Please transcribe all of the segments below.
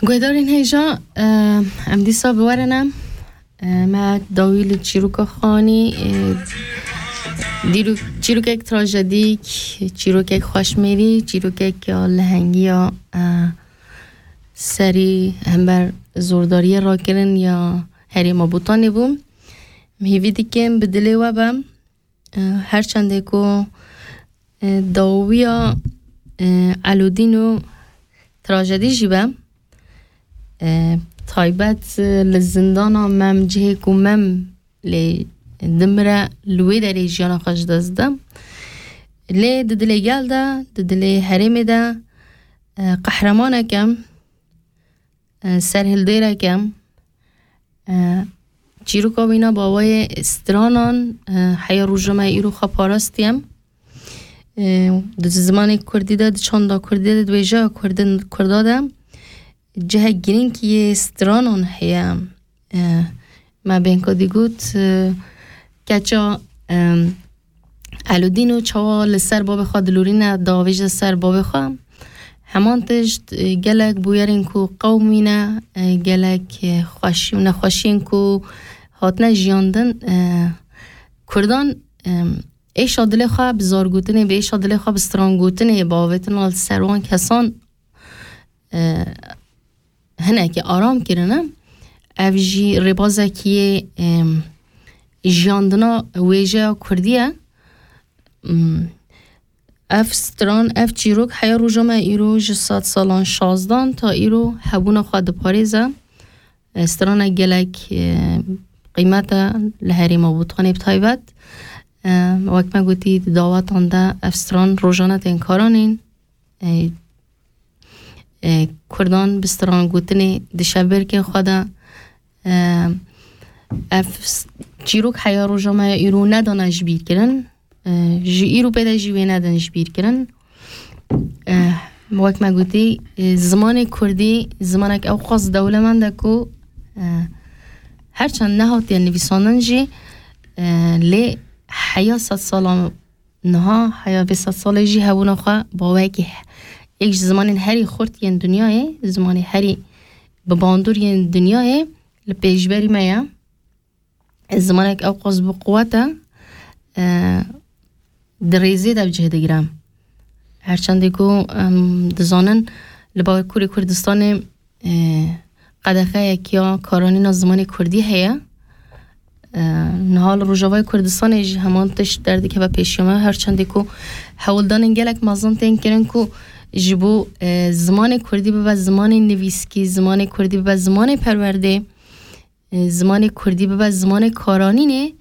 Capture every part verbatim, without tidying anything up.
Guhdarên hêja, e, em dîsa bi we re ne. E, me dawî li çîroka xwe anî, e, dîrok-, çîrokek trajedîk, çîrokek xweşmêrî, çîrokek ya lehengî ya, e, serî hember zordariyê rakirin ya herêma Botanê bû. Em hêvî dikin bi dilê we be. E, her çendê ku, e, dawiya, e, Elûdîn û trajedî jî be, e, taybet, e, li zindana Mem, cihê ku Mem lê dimire, li wê derê jiyana xwe ji dest dide. Lê di dilê gel de, di dilê herêmê de, e, qehremaneke, e, serhildêreke, e, çîroka wîna bawayê stranan, e, heya roja me îro xwe parastiye. E, di zimanê kurdî de, di çanda kurdî de, di wêjeya kurdin, kurda de cihek girîng yê stranan heye. E, me bên ku dî got, e, keça, e, Elûdîn û çawa li ser bavê xwe dilorîne, davêje ser bavê xwe. Heman tişt, e, gelek bûyerên ku qewimîne, e, gelek, e, xweşî û nexweşiyên ku hatine jiyandin, e, kurdan, e, êşa dilê xwe bi zargotinê, bi êşa dilê xwe bi strangotinê, bi avêtina li ser wan kesan, e, hinekî aram kirine. Ev jî rêbazekî yê, em, jiyandina wêjeya kurdî ye. Em, ev stran, ev çîrok heya roja me îro ji sed salan şazdan ta îro hebûna xwe diparêze. E, strana gelek, e, qîmet e li herêma Botanê bi taybet. E, wek me gotî, di dawetan de ev stran rojane tên karanîn. E, e, Kurdan bi stran gotinê di şevbêrkên xwe de, e, ev s-, çîrok heya roja me ya îro nedane ji bîr kirin. E, ji îro pê de jî wê nedin ji bîr kirin. E, wek me gotî, e, zimanê kurdî zimanek ew qas dewlemend e ku, e, her çend nehatiye nivîsandin jî, e, lê heya sed sala niha, heya vê sed salê jî hebûna xwe baweyekî he-, yek ji zimanên herî xurt yên dinyayê, zimanê herî bi bandor yên dinyayê li pêşberî me ye. Zimanek ew qas bi quwet e, e, di rêzê de bi cih digire. Her çendê ku em dizanin li Bakurê Kurdistanê, e, qedexeyek ya karanîna zimanê kurdî heye. E, niha li Rojavayê Kurdistanê jî heman tişt derdikeve pêşiya me, her çendê ku hewldanên gelek mezin tên kirin ku ji bo, e, zimanê kurdî bibe zimanê nivîskî, zimanê kurdî bibe zimanê perwerdê, e, zimanê kurdî bibe zimanê karanînê,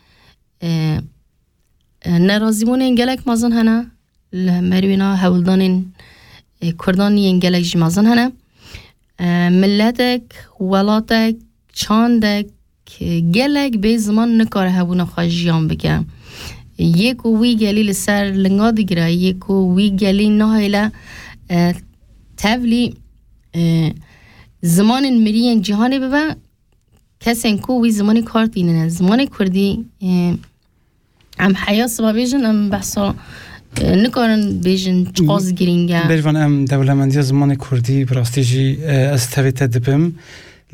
e, e, nerazîbûnên gelek mezin hene. Li hemberî wîna hewldanên, e, kurdan yên gelek jî mezin hene. E, miletek, welatek, çandek, e, gelek bê ziman nikare hebûna xwe jiyan bike. Yê ku wî gelî li ser linga digire, yê ku wî gelî nahêle, e, tevlî, e, zimanên mirî yên cîhanê bibe, kesên ku wî zimanê kar tînine. Zimanê kurdî, e, em heya siba bêjin, em behsa, e, nikarin bêjin çiqas girîng e. Bêrvan, em dewlemendiya zimanê kurdî bi rastî jî, e, ez tevê te dibim.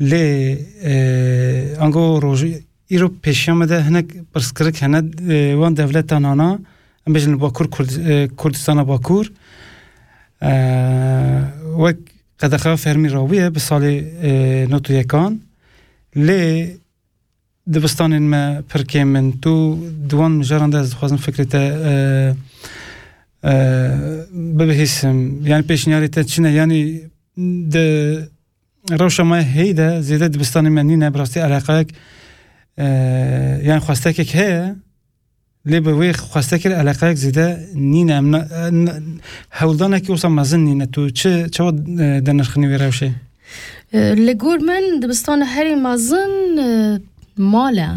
Lê, e, ango roj-, îro pêşiya me de hinek pirsgirêk hene, e, wan dewleta nana, em bêjin li Bakur Kurd-, e, Kurdistana Bakur. E, wek qedexe fermî rabûye bi salê, e, nod û yekan. Lê dibistanên me pir kêm in. Tu di wan mijaran de ez dixwazim fikrê te, e, e, bibihîsim. Yani pêşniyarê te çi ne? Yani di rewşa me heyî de zêde dibistanê me nîne, bi rastî eleqeyek, e, yani xwestekek heye. Lê bi wê xwestekê re eleqeyek zêde nîne. Em na-, e, n-, hewldanekî wisa mezin nîne. Tu çi, çawa, e, dinirxînî wê rewşê? E, li gor min dibistana herî mezin, e, mal e.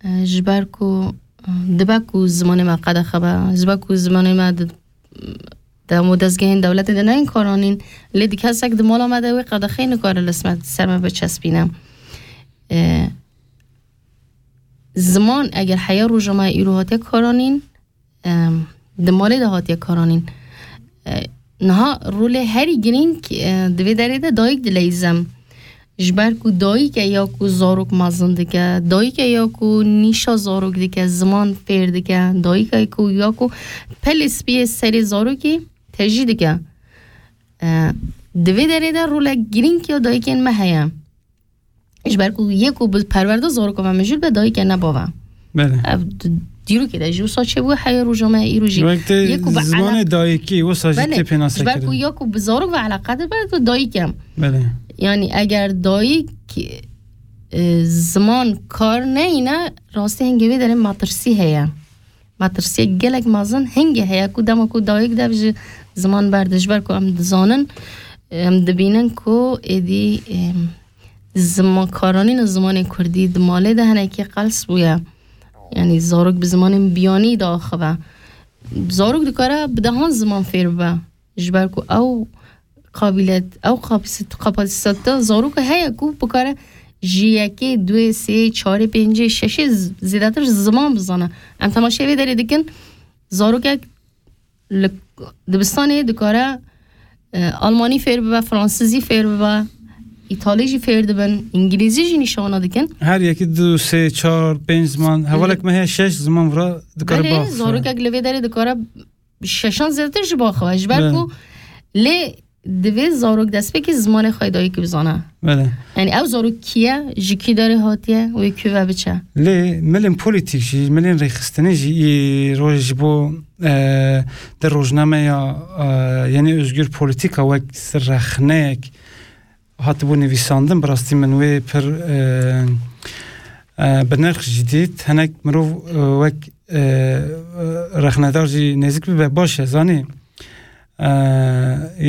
E, ji ber ku, e, dibe ku zimanê me qedexe be, ji ber ku zimanê me di, di hemû dezgehên dewletê de neyên karanîn, lê di kesek di mala me de wê qedexeyê nikare li smer-, ser me biçespîne. E, Ziman eger heya roja me îro hatiye karanîn, em, di malê de hatiye karanîn. E, niha rolê herî girîng, e, di vê derê de dayik dileyîze. Ji ber ku dayike ya ku zarok mezin dike, dayike ya ku nîşa zarok dike, ziman fêr dike, dayike ku ya ku pelê spiyê serê zarokî tejî dike. E, di vê derê de rolek girîng ya dayikên me heye. Ji ber ku yê ku bi perwerda zarokê me mijûl be, dayike ne bav e. Belê. Ev di-, dîrokê de jî wisa çêbû, heya roja me îro jî. Wek tê Yê ku bi zimanê elaq- dayikî, wisa jî Belê, tê pênasekirin. Ji ber ku ya ku bi zarok ve eleqedar be, tu dayik e. Belê. Yani eger dayik, e, ziman kar neyne, rastî hingê vê derê metirsî heye. Metirsiyek gelek mezin hingê heye ku dema ku dayik dev ji ziman berde, ji ber ku em dizanin, em dibînin ku êdî, em, ziman, karanîna zimanê kurdî di malê de hinekî qels bûye. Yani zarok bi zimanên biyanî diaxive. Zarok dikare bi dehan ziman fêr bibe. Ji ber ku ew qabîlet, ew kapasît-, kapasîteta zaroka heye ku bikare ji yekê, duê, sê, çarê, pêncê, şeşê z-, zêdetir ziman bizane. Em temaşeyê vê derê dikin, zarokek li dibistanê dikare, e, almanî fêr bibe, fransizî fêr bibe, îtalî jî fêr dibin, îngilîzî jî nîşana dikin. Her yekî du, sê, çar, pênc ziman, hevalek me heye şeş ziman vira dikare Belê, biaxive. Zarokek li vê derê dikare şeşan zêdetir jî biaxive. Ji ber Belê. ku lê divê zarok destpêkê zimanê xwe yê dayikî bizane. Belê. Yani ew zarok kî ye, ji kî derê hatiye, wê kû ve biçe. Lê milên polîtîk jî, milên rêxistinê jî î roj ji bo, e, di rojnameya, e, Yeni Özgür Politika wek rexneyek hatibû nivîsandin, bi rastî min wê pir, e, e, bi nirx jî dît. Hinek mirov, e, wek, e, rexnedar jî nêzik bibe baş e, zanî. E,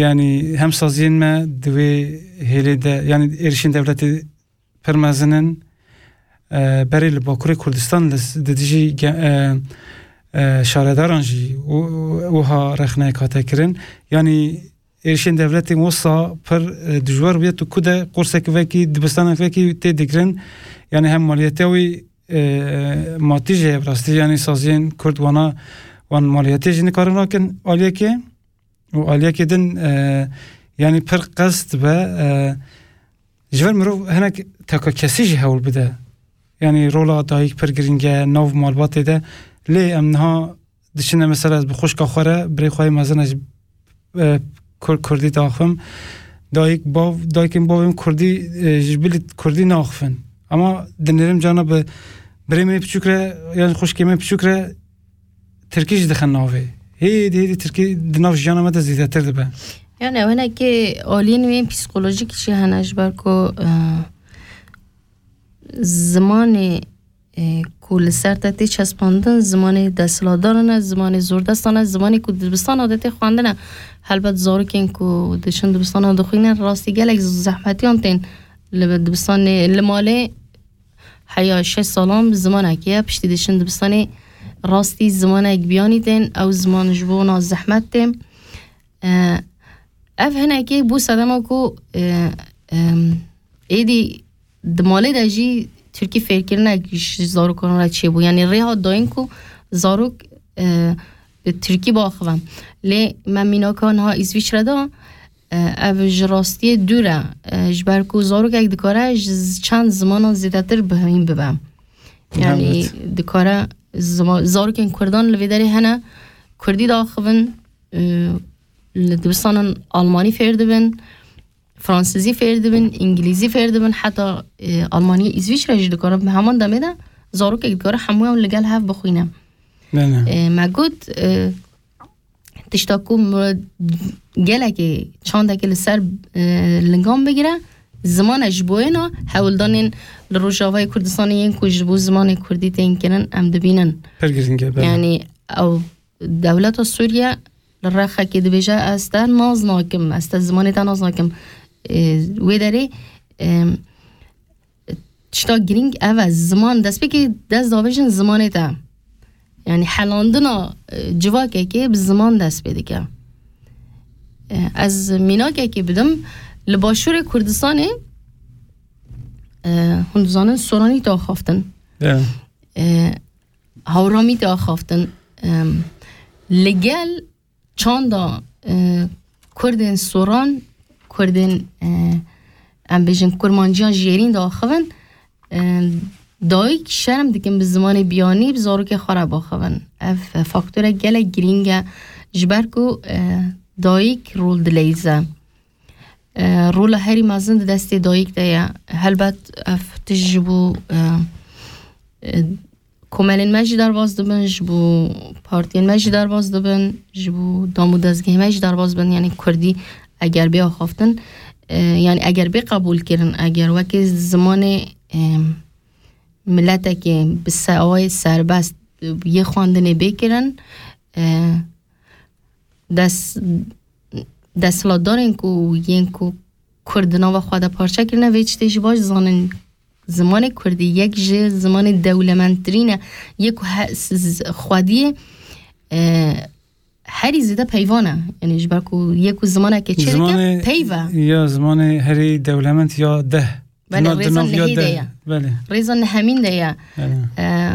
yanî hem saziyên me di wê hêlê de, yanî êrişên dewletê pir mezin in. E, berê li Bakurê Kurdistan li s-, di dijî ge-, e, e, şaredaran jî wi-, wiha rexneyek hate kirin. Yanî êrişên dewletên wisa pir, e, dijwar bûye, tu ku de qursek vekî, dibistanek vekî tê digirin. Yanî hem maliyetiya wî, e, matî jî heye bi rastî, yanî saziyên Kurd wana, wan maliyetê jî nikarin rakin aliyekê. Û aliyekê din, e, yanî pir qest be, e, ji vir mirov hinek teka kesî jî hewl bide. Yanî rola dayik pir girîng e, nav malbatê de. Lê em niha diçine mesela ez bi xwişka xwe re, birê xwe yê mezin e ji, e, Kur-, Kurdî diaxivim. Dayik, bav, dayikên bavên Kurdî, e, ji bilî Kurdî naaxivin. Ama dinêrim cana bi birê min ê piçûk re, yan xwişkê min piçûk re Tirkî jî dixe navê. Hêdî, hêdî Tirkî di nav jiyana me de zêdetir dibe. Yani ew hinekê aliyên wê psîkolojîk jî hene ji ber ku, e, zimanê, e, ku li ser te tê çespandin, zimanê desthilatdaran e, zimanê zordestan e, zimanê ku di dibistana de tê xwendin e. Helbet zarokên ku diçin dibistana dixwînin, rastî gelek zehmetiyan tên li dibistanê, li malê heya şeş salan bi zimanekê ye, piştî diçin dibistanê, rastî zimanek biyanî tên, ew ziman ji bo wan zehmet tê. E, ev hinekê bû sedema ku, e, em, êdî di malê de jî tirkî fêrkirinek ji zarokan re çêbû. Yanî rê hat dayîn ku zarok, e, bi tirkî biaxive. Lê me mînaka niha Îsvîçre de, e, ev ji rastiyê dûr e. E, ji ber ku zarokek dikare ji z-, çend zimanan zêdetir bihîn bibe. Yanî Evet. dikare zima-, zarokên Kurdan li vê derê hene, Kurdî diaxivin, e, li dibistanan Almanî fêr dibin, Fransizî fêr dibin, Îngilîzî fêr dibin, heta, e, Almanyê, Îsvîçre jî dikare bi heman demê de zarokek dikare hemûyan li gel hev bixwîne. Belê. E, me got, e, tişta ku mi gelekê çandekê li ser, e, lingan bigire, ziman e ji boyê na hewldanên li Rojavayê Kurdistanê yên ku ji bo zimanê Kurdî tên kirin, em dibînin. Pir girîng e, belê. Yani ew dewleta Sûriye li rexekê dibêje, ez te naz nakim, ez te zimanê te naz nakim. E, wê derê, e, tişta girîng ev e, ziman destpêkê dest davêjin zimanê te. Yani helandina, e, civakekê bi ziman dest pê dike. E, ez mînakekê bidim, li Başûrê Kurdistanê, e, hûn dizanin Soranî tê axaftin. Ya. E, Hawramî tê axaftin. Em, li gel çanda, e, Kurdên Soran, Kurdên, e, em bêjin kurmanciyan jêrîn diaxivin, e, dayik şerm dikin bi zimanê biyanî bi zarokê xwe re biaxivin. Ev faktorek gelek girîng e, ji ber ku, e, dayik rol dileyîze. E, rola herî mezin di destê dayik de ye. Helbet ev tişt ji bo, e, e, komelên me jî derbas dibin, ji bo partiyên me jî derbas dibin, ji bo dam û dezgehê me jî derbas dibin. Yanî kurdî eger bê axaftin, e, yanî eger bê qebûl kirin, eger wekî zimanê, e, miletekê bi se-, awayê serbest, e, yê xwendinê bê kirin, e, des-, desthilatdarên ku yên ku Kurd di nava xwe de parçe kirine, vê tiştê jî baş zanin. Zimanê Kurdî yek ji zimanê dewlemendtirîn e, yê ku he-, s-, z-, xwediyê, e, herî zêde peyvan e. Yanî ji ber ku yê ku zimanekê çêdike, Zimanê peyv e. Ya zimanê herî dewlemend ya deh. Belê, Di na-, di rêza nav ya nehê de deh. Ye. Belê. Rêza nehemîn de ye. Belê. E,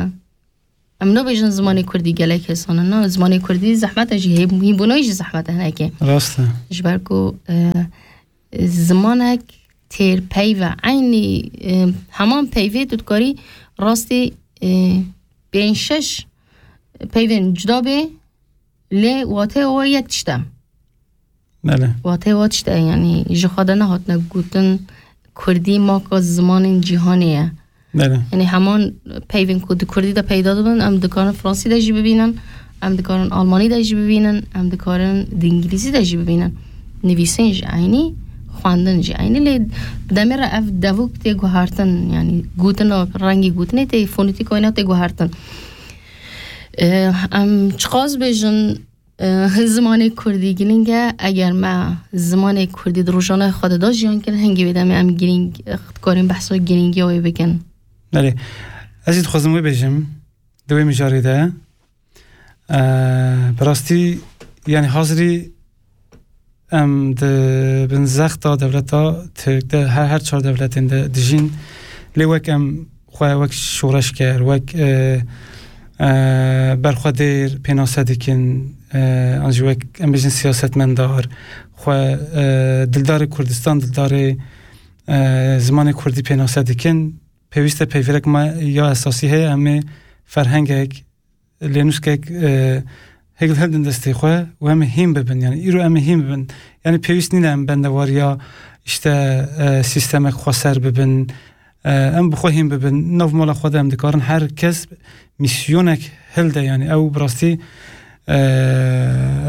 Em nabêjin zimanê kurdî gelek hêsan e. Na, zimanê kurdî zehmet e jî, hê-, hînbûnayî jî zehmet e hinekê. Rast e. Ji ber ku, e, zimanek têr peyv e. Eynî, e, heman peyvê tu dikarî rastî, e, pênc şeş peyvên cuda bê, lê wateya wa yek tişt e. Belê. Wateya wa tişt e, yanî ji xwe de nehatine gotin kurdî maka zimanên cîhanê ye. Belê. Yanî heman peyvên ku di kurdî de peyda dibin, em dikarin fransî de jî bibînin, em dikarin almanî de jî bibînin, em dikarin di îngilîzî de jî bibînin. Nivîsîn jî eynî, xwendin jî eynî, lê bi demê re ev devok tê guhertin, yanî gotina, rengê gotinê tê, fonetîka wê ne tê guhertin. E, em çiqas bêjin, e, zimanê kurdî giring e. Eger me zimanê kurdî di rojane xwe de da jiyan kirin, hingê vê demê em giring, e, dikarîn behsa giringiya wê bikin. Belê. Ez jî dixwazim wê bêjim, di wê mijarê de, e, bi rastî, yanî hazirî em di bin zexta dewleta Tirk de her, her çar dewletên de dijîn. Lê wek em xwe wek şoreşger, wek, e, e, berxwedêr pênase dikin, e, an jî wek em bêjin siyasetmendar, xwe, e, dildarê Kurdistan, dildarê, e, zimanê Kurdî pênase dikin, pêwîst e peyvêrek me ya esasî heye, em ê ferhengek, lênûskek, e, hêk hildin destê xwe û em ê hîn bibin. Yanî îro em ê hîn bibin. Yanî pêwîst nîne em bendewariya, işte, e, sîstemek xweser bibin. E, em bi xwe hîn bibin. Nav mala xwe de em dikarin her kes misyonek hilde. Yanî ew bi rastî, e,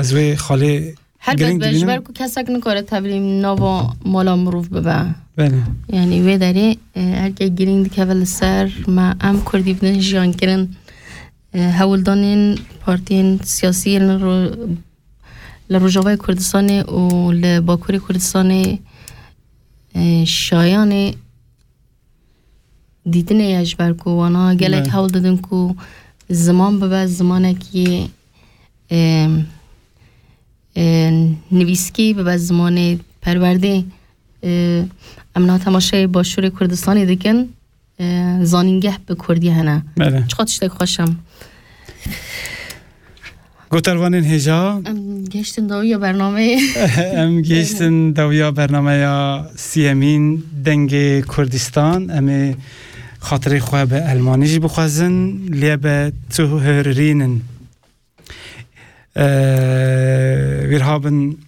ez wê xalê Helbet giring be, ji dibînim. Ber ku kesek nikare tevlî nava mala mirov bibe. Belê. Yanî wê derê, e, herkê giring dikeve li ser me, em kurdî bidin jiyan kirin. E, hewldanên partiyên siyasî yên li ro-, li Rojavayê Kurdistanê û li Bakurê Kurdistanê, e, şayanê dîtinê ye, ji ber ku wana gelek Ne. hewl didin ku ziman bibe zimanekî, e, e, nivîskî, bibe zimanê perwerdê. E, em niha temaşeyê Başûrê Kurdistanê dikin, e, zanîngeh bi kurdî hene. Belê. Çiqas tiştek xweş e. Gotarvanên hêja. Em gihiştin dawiya bernameyê. Em gihiştin dawiya bernameya siyemîn Dengê Kurdistan. Em ê xatirê xwe bi elmanî jî bixwazin. Lê be tu hörrînin. Ee, wir haben,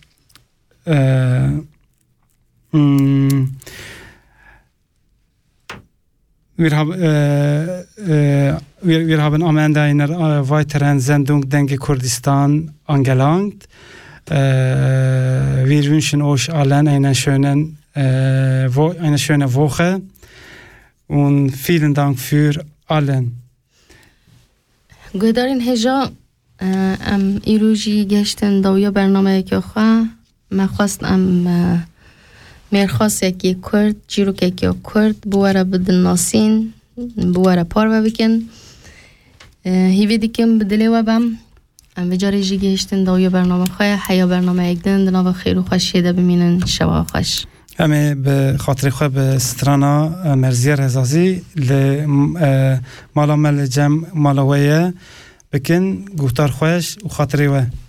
ee, hmm, Wir hab-, äh, äh, wir, wir haben am Ende einer, äh, weiteren Sendung Denke Kurdistan angelangt. Äh, wir wünschen euch allen einen schönen, äh, Wo-, eine schöne Woche und vielen Dank für allen. Guhdarên hêja, e, em îro jî gehiştin dawiya bernameyeke xwe. Me xwest em, e, mêrxasekî kurd, çîrokekî kurd bi we re bidin nasîn, bi we re parve bikin. E, hîvî dikim bi dilê we bem. Em vê carê jî gihiştin dawiya bername xwe. Heya bernameyek din di nava xêr û xweşiyê de bimînin. Şewa xweş. Em ê bi xatirê xwe bi strana, e, Merziye Rezazî li, e, mala me li cem mala we ye bikin. Guhtar xweş û xatirê we.